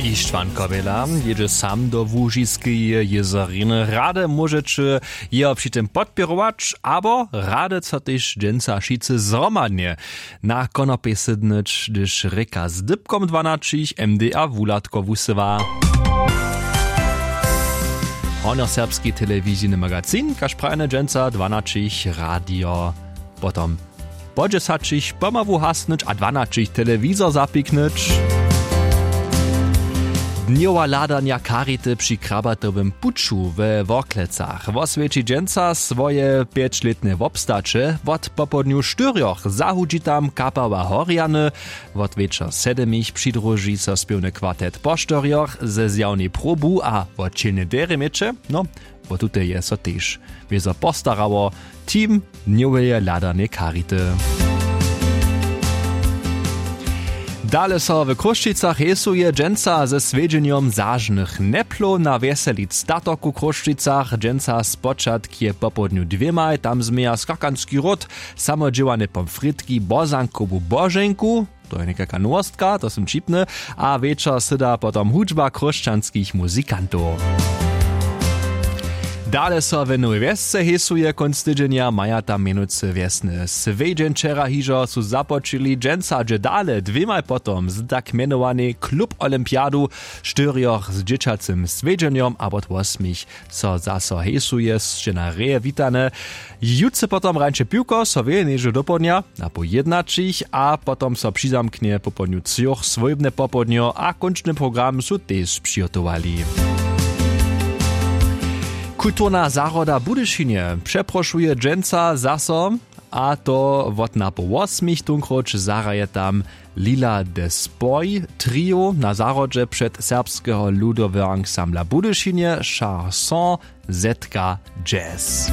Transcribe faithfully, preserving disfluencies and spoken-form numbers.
Ištwan Kowjela jědźe sam do łužiskeje jězoriny. Rady móžeće jeho při tym podpěrować abo rady so tež dźensa wšitcy zhromadnje na konopej sydnyć, hdyž rěka z dypkom dwanaćich md a wuhladko wusyła. Hornjoserbski telewizijny magazin kaž prajene dźensa dwanaćich radio, potom po dźesaćich pomału hasnyć a dwanaćich telewizor zapiknyć. Dnjowa hladanja charity při krabatowym puću we Worklecach woswjeći dźensa swoje pjećlětne wobstaće. Wot popołdnju štyrjoch zahudźi tam kapała Horjany. Wot wječor sedymich přidruži so spěwny kwartet po štyrjoch ze zjawnej probu a wot čelnej derje měće. No, wo tutej je so tež wězo postarało. Team dnjoweje hladanje charity. Dale so w Chrósćicach hejsuje dźensa ze swjedźenjom zažnych neplow na wjeseli statok w Chrósćicach. Dźensa spočatk je popołdnju dwěmaj, tam změja skakanski ród, samodźěłane pomfritki, bozankowu boženku, to je někajka nowostka, to sym ćipny, a wječor syda potom hudźba chróšćanskich muzikantow. Dale so w Nowej Wjesce hejsuje kónc tydźenja, maja tam mjenujcy wjesny swjedźeń. Wčera hižo su započili, dźensa dźe dale dwěmaj potom z tak mjenowanej klub olympiadu, štyrjoch z dźěćacym swjedźenjom a wot wosmich so zaso hejsuje. Sće na reje witane. Jutře potom rańše piwko so wěje něžo dopołdnja na poł jědnaćich a potom so přizamknje popołdnju třoch swójbne popołdnjo a kónčny program su tež přihotowali. Kulturna zahroda w Budyšinje přeprošuje dźensa zaso, a to wot napoł wosmich. Tónkróć zahraje tam Lila de Spoj trio na zahrodźe před serbskeho ludoweho ansambla w Budyšinje Charson Z K Jazz.